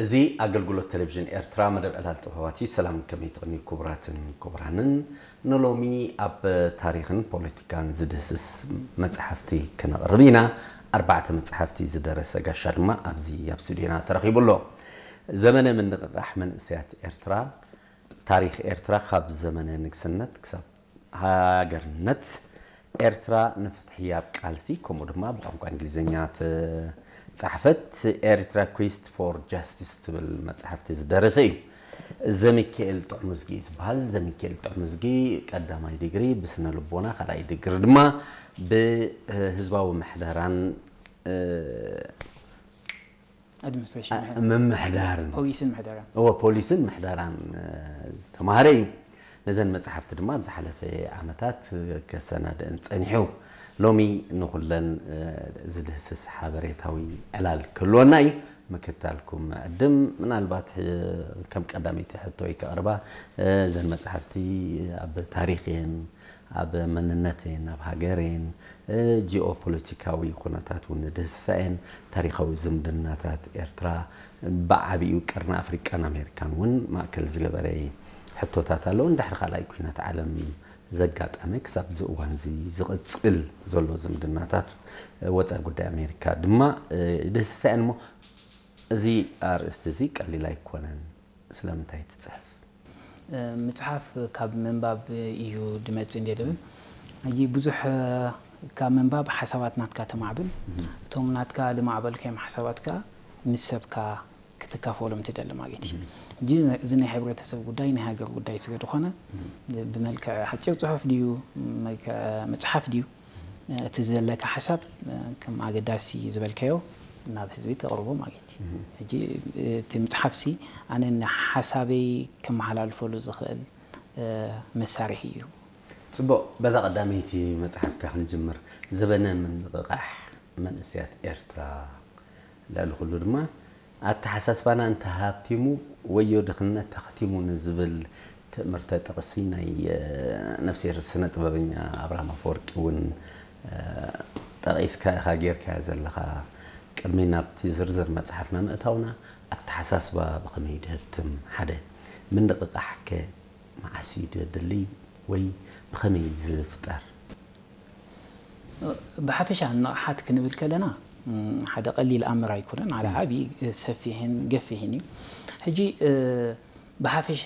እዚ ኣገልግሎት ቴሌቪዥን ኤርትራ መደብ ዕላል ጥበባት እዩ። ሰላም ከመይ ትቕንዩ ክቡራትን ክቡራንን። ንሎሚ ኣብ ታሪኽን ፖለቲካን ዝድህስስ መጽሓፍቲ ክነቕርብ ኢና። ኣርባዕተ መጽሓፍቲ ዝደረሰ ጋሻ ድማ ኣብዚ ኣብ ስቱዲዮና ተረኺቡ ኣሎ። ዘመነ ምንቕቓሕ መንእሰያት ኤርትራ፣ ታሪኽ ኤርትራ ካብ ዘመነ ንግስነት ክሳብ ሃገርነት፣ ኤርትራ ንፍትሒ ኣብ ቃልሲ፣ ከምኡ ድማ ብቋንቋ እንግሊዝኛ ተጻሕፈት ኤሪትራ ኩስት ፎር ጃስቲስ ትብል መጽሓፍቲ ዝደረሰ እዩ። ዘሚካኤል ጥዑምዝጊ እዩ ዝበሃል። ዘሚካኤል ጥዑምዝጊ ቀዳማይ ዲግሪ ብስነ ልቦና፣ ካልኣይ ዲግሪ ድማ ብህዝባዊ ምሕደራን ኣድሚኒስትሬሽን አ- ምምሕዳርን ፖሊስን ምሕደራን እወ ፖሊስን ምሕደራን እ፣ ዝተማሃረ እዩ። ነዘን መጽሓፍቲ ድማ ኣብ ዝሓለፈ ዓመታት ከሰናድእን ጸኒሑ። ሎሚ ንኹለን እ፣ ዝድህስስ ሓበሬታዊ ዕላል ክህልወና እዩ። ምክታልኩም ዕድም። ምናልባት እ፣ ከም ቀዳመይቲ ሕቶይ ከቕርባ እ፣ እዘን መጽሓፍቲ ኣብ ታሪኽን ኣብ መንነትን ኣብ ሃገርን እ፣ ጂኦፖለቲካዊ ኩነታት እውን ንድህስሳ እየን። ታሪኻዊ ዝምድናታት ኤርትራ ብዓቢኡ ቀርኒ ኣፍሪቃን ኣሜሪካን እውን ማእከል ዝገበረ ሕቶታት ኣለዉ። እንድሕሪ ካልኣይ ኩናት ዓለም ዘጋጠመ ክሳብ እዚ እዋን እዚ ዝቕጽል ዘሎ ዝምድናታት እ፣ ወጻኢ ጉዳይ ኣሜሪካ ድማ እ፣ ይድህስሳ እየን። እሞ እዚ ኣርእስቲ እዚ ቀሊል ኣይኮነን። ስለምንታይ ትጽሕፍ? ምጽሓፍ ካብ ምንባብ እዩ ድመጽእ እንደ ድብል ሕጂ ብዙሕ ካብ ምንባብ ሓሳባት ናትካ ተማዕብል እቶም ናትካ ልማዕበልካዮም ሓሳባት ከዓ ምስ ሰብካ ክትካፈሎም ትደሊ ማለት እዩ ሕጂ እዚ ናይ ሕብረተሰብ ጉዳይ ናይ ሃገር ጉዳይ ስለ ዝኾነ ብመልክዕ ሓፂር ፅሑፍ ድዩ መፅሓፍ ድዩ እቲ ዘለካ ሓሳብ ከም ኣገዳሲ ዝበልካዮ ናብ ህዝቢ ተቕርቦ ማለት እዩ ሕጂ እቲ ምፅሓፍሲ ኣነ ንሓሳበይ ከመሓላልፈሉ ዝኽእል መሳርሒ እዩ ፅቡቕ በዛ ቀዳመይቲ መፅሓፍካ ክንጅምር ዘበነ ምንቕቓሕ መንእስያት ኤርትራ ልዕሊ ኩሉ ድማ ኣተሓሳስባና እንተሃብቲሙ ወዮ ድኽነት ተኽቲሙ ንዝብል ትእምርተ ጥቕሲ ናይ ነፍስሄር ስነ ጥበበኛ ኣብርሃም ኣፈወርቂ እውን ጠቒስካ ኢኻ ጌርካዮ ዘለኻ። ቅድሚ ናብቲ ዝርዝር መጽሓፍና ምእታውና ኣተሓሳስባ ብኸመይ ድህብትም ሓደ ምንቕቓሕከ መዓስ እዩ ደድሊ ወይ ብኸመይ ዝፍጠር? ብሓፈሻ ንቕሓት ክንብል ከለና ሓደ ቀሊል ኣምር ኣይኮነን፣ ሓደ ዓብዪ ሰፊሕን ገፊሕን እዩ። ሕጂ ብሓፈሻ